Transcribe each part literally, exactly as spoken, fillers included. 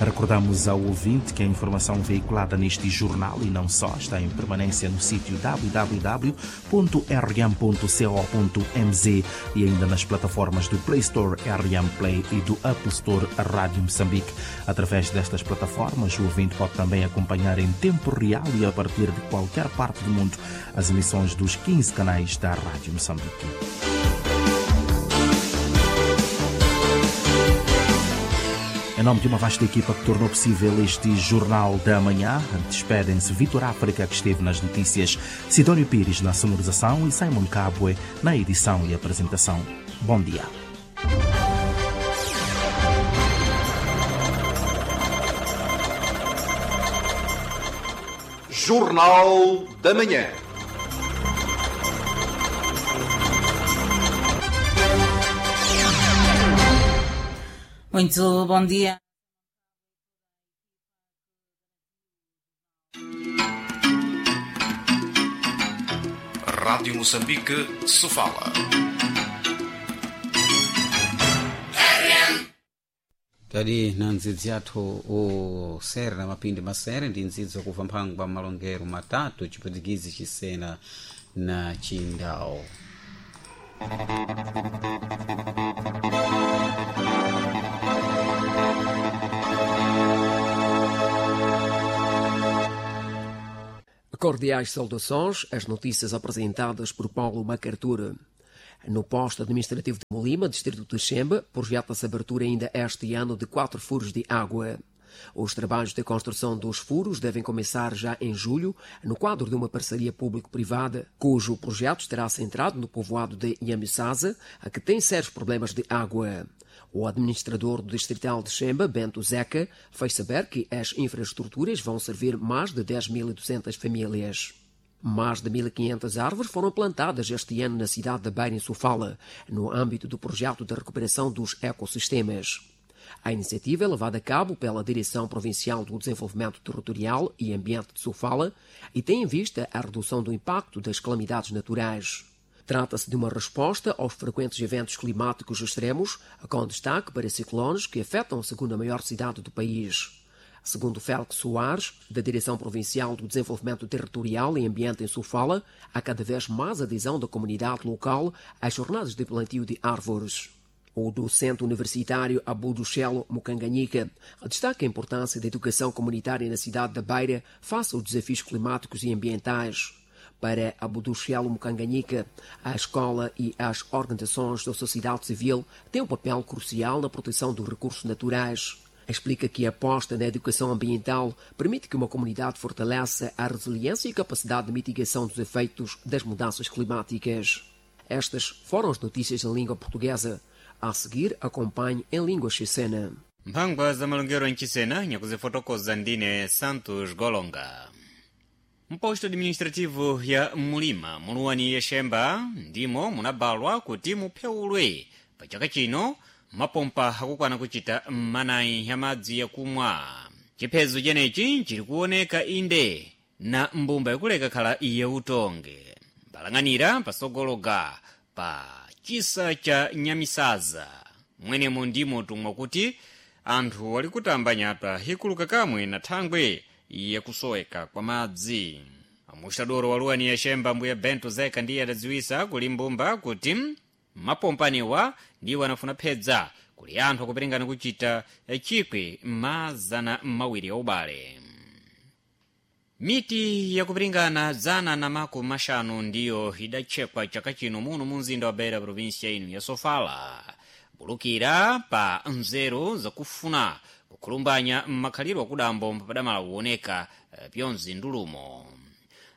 Recordamos ao ouvinte que a informação veiculada neste jornal e não só está em permanência no sítio w w w ponto r m ponto co ponto m z e ainda nas plataformas do Play Store R M Play e do Apple Store Rádio Moçambique. Através destas plataformas, o ouvinte pode também acompanhar em tempo real e a partir de qualquer parte do mundo as emissões dos quinze canais da Rádio Moçambique. Em nome de uma vasta equipa que tornou possível este Jornal da Manhã, despedem-se Vitor África, que esteve nas notícias, Sidónio Pires na sonorização e Simon Cabwe na edição e apresentação. Bom dia. Jornal da Manhã. Muito bom dia. Rádio Moçambique, Sofala. Tadi na ndzidzi yathu usere na mapindi masere ndi ndzidzi wakuva mphangwa malongero matatu chipwitikizi chisena na chindawo. Cordiais saudações, as notícias apresentadas por Paulo Macartura. No posto administrativo de Molima, distrito de Xemba, projeta-se a abertura ainda este ano de quatro furos de água. Os trabalhos de construção dos furos devem começar já em julho, no quadro de uma parceria público-privada, cujo projeto estará centrado no povoado de Nhamisasa, que tem sérios problemas de água. O administrador do distrital de Xemba, Bento Zeca, fez saber que as infraestruturas vão servir mais de dez mil e duzentas famílias. Mais de mil e quinhentas árvores foram plantadas este ano na cidade de Beira, em Sofala, no âmbito do projeto de recuperação dos ecossistemas. A iniciativa é levada a cabo pela Direção Provincial do Desenvolvimento Territorial e Ambiente de Sofala e tem em vista a redução do impacto das calamidades naturais. Trata-se de uma resposta aos frequentes eventos climáticos extremos, com destaque para ciclones que afetam a segunda maior cidade do país. Segundo Félix Soares, da Direção Provincial do Desenvolvimento Territorial e Ambiente em Sofala, há cada vez mais adesão da comunidade local às jornadas de plantio de árvores. O docente universitário Abuduchelo Mukanganhika destaca a importância da educação comunitária na cidade da Beira face aos desafios climáticos e ambientais. Para Abuduchelo Mukanganhika, a escola e as organizações da sociedade civil têm um papel crucial na proteção dos recursos naturais. Explica que a aposta na educação ambiental permite que uma comunidade fortaleça a resiliência e capacidade de mitigação dos efeitos das mudanças climáticas. Estas foram as notícias em língua portuguesa. A seguir, acompanhe em língua chicena. Mphangwa za malongero mchisena nyakuzifotokoza ndine Santos Golonga. Mposto administrativo ya Mulima muluwani ya Xemba ndimo munabalwa kuti mupheulwe pa chaka chino mapompa akukwana kuchita manayi ya madzi yakumwa. Chiphezo chenechi chili kuoneka inde na mbumba yakuleka khala iye utonge mbalang'anira pasogologa pa chisa cha Nyamisaza mwenemo ndimo tumwa kuti anthu ali kutamba nyatwa ikuluka kamwe na thangwe yakusoweka kwa madzi. Amuxadoro wa luwani ya Xemba mbuya Bento Zeka ndiye adadziwisa kuli mbumba kuti mapompaniwa ndiwo anafuna phedza kuli anthu akuperingana kuchita chikwi mazana mawiri ya ubale. Miti yakupiringana zana na makumi maxanu ndiyo idatchekwa chaka chino muno mu mzinda wa Beira, provinsia ino ya Sofala, bulukira pa nzeru zakufuna kukhulumbanya mmakhalidwe akudambo mpadamala kuoneka pyonzi ndulumo.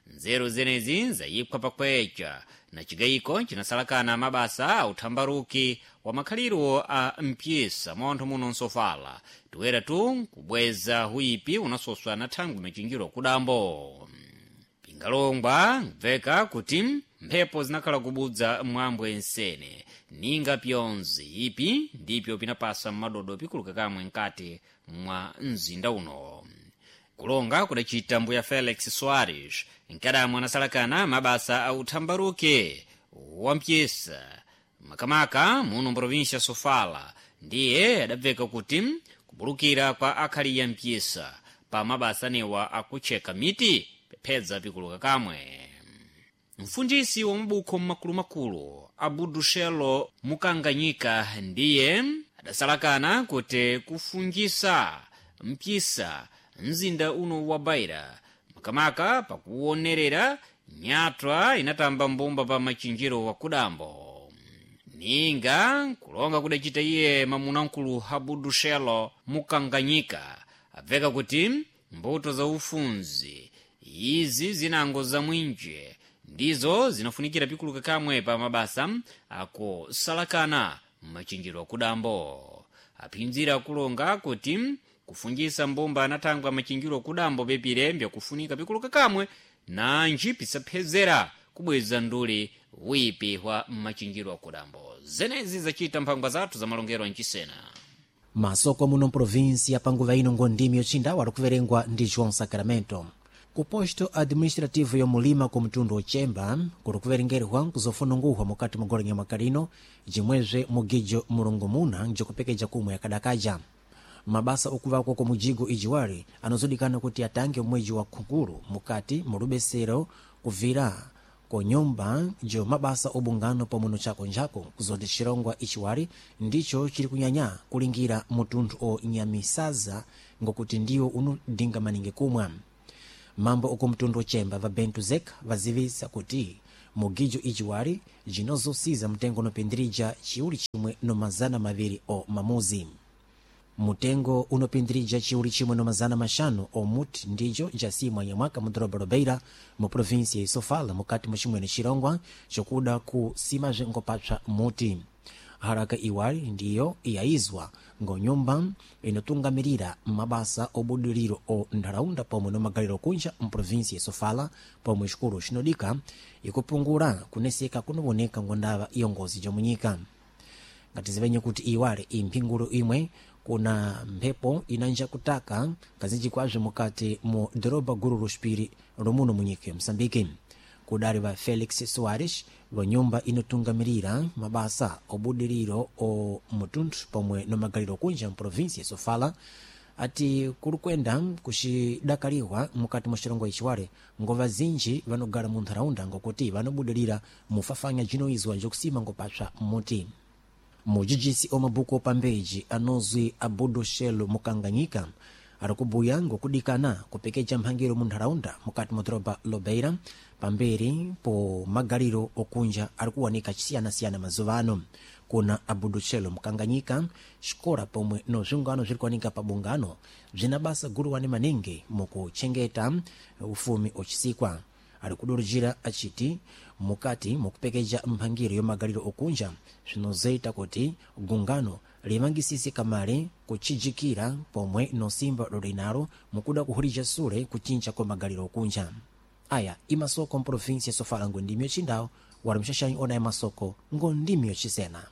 Nzeru zenezi zayiphwa pakwecha na chigayiko chinasalakana mabasa a uthambaruki wa makhalidwe a mpyisa mwa anthu muno nsofala tiwera tu kubweza huipi unasoswa na thangwi machinjiro kudambo. Pingalongwa mveka kuti mphepo zinakhala kubudza mwambwe nsene ninga pyonzi ipi ndipyo pinapasa mmadodo pikuluka kamwe nkati mwa mzinda uno. Kulonga kudacita mbuya Felix Soares nkadamwe anasalakana mabasa a uthambaruke wampyesa makamaka muno mprovinsia Sofala ndiye adabveka kuti Kubulukira kwa akhali mpyisa pa mabasanewa akucheka miti pephedza pikuluka kamwe. Mfundisi wa mabukho mmakulumakulu Abudushelo Mukanganyika ndiye adasalakana kuti kufungisa mpyisa mzinda uno wa Beira, makamaka pakuonerera nyatwa inatamba mbumba pa machinjiro wa kudambo. Ninga kulonga kudacita iye mamunamkulu Abudushelo Mukanganyika abveka kuti mbuto za ufunzi izi zinango za mwinje ndizo zinafunikira pikuluka kamwe pa mabasa akusalakana mmachinjiro akudambo. Aphinzira akulonga kuti kufungisa mbumba anathangwa machinjiro akudambo pepire mbyakufunika pikuluka kamwe nanji pisaphezera kubweza nduli wipi wa mmachinjiro akudambo. Zenezi zacita mphangwa zathu za malongero ancisena. Masoko muno mprovinsi panguva ino ngondimi yocindawa alikuverengwa ndi João Sacramento. Ku posto administrativo yomulima ku mtundu ochemba kuli kuverengerwa nkuzofununguhwa mukati mugolenya mwakalino jimwezve mugijo mulungumuna njikupekeja kumwe yakadakaja. Mabasa okuvakwa kwa mujigo ijiwali anozodikana kuti atange mwezi wa khukulu mukati mulubesero kuvira ku nyumba jo mabasa obungano pomwe nochakonjako kuzoti chirongwa ichiwali ndicho chili kunyanya kulingira mutunthu o nyamisaza ngokuti ndiwo unodinga maningi kumwa. Mambo oku mtundu ochemba va Bento Zek vazivisa kuti mugijo ichiwali jinozosiza mtengo unopindirija chiuli chimwe no mazana maviri o mamuzi. Mutengo unopindirija chiuli chimwe no mazana maxanu omuti ndijo jasimwa nyamwaka mu doroba Lobeira mu província ya Sofala mukati muchimwene chirongwa chokuda kusimazve ngopapsa muti. Haraka iwali ndiyo iyayizwa ngonyumba inotungamirira mabasa obudiliro o ntharaunda pomwe no magaliro kunja mprovinsia ya Sofala pomwe xikulu xinodika ikupungula kuneseka kunowoneka ngondava iyongozi jomunyika. Ngatizivenye kuti iwale imphingulo imwe kuna mphepo inanja kutaka kazinji kwazve mukati mu doroba guru luxipiri lomuno munyika ya Msambiki. Kudali va Felix Soares va nyumba inotungamirira mabasa obudiriro o mutunthu pomwe no magaliro kunja mprovinsia ya Sofala ati kuli kwenda kuxidakaliwa mukati mwa xilongo ichiwale ngova zinji vanogala mu ntharaunda ngokuti vanobudilira mufafanya jinoizwa njokusima ngopapsa muti. Mujijisi omabuku opambeji anozwi Abudu Shelo Mukanganyika ari kubuya ngokudikana kupekeja mphangiro mu ntharaunda mukati mwa doroba Lobeira pamberi po magaliro okunja ari kuwanika chisiyanasiyana mazuva ano. Kuna Abudu Shelo Mukanganyika xikola pomwe no zvingano zviri kuwanika pa bungano bzina basa guluwani maningi mukuchengeta ufumi ochisikwa. Ari kudurujira achiti mukati mukupekeja mphangiro yomagaliro okunja zvinozoita kuti gungano limangisise kamale kuchijikira pomwe nosimba lolinalo mukuda kuhulija sule kuchinja kwa magaliro okunja. Aya imasoko mprovinsia ya Sofala ngondimi yocindawo wali mxaxanyi ona ya masoko ngondimi yocisena.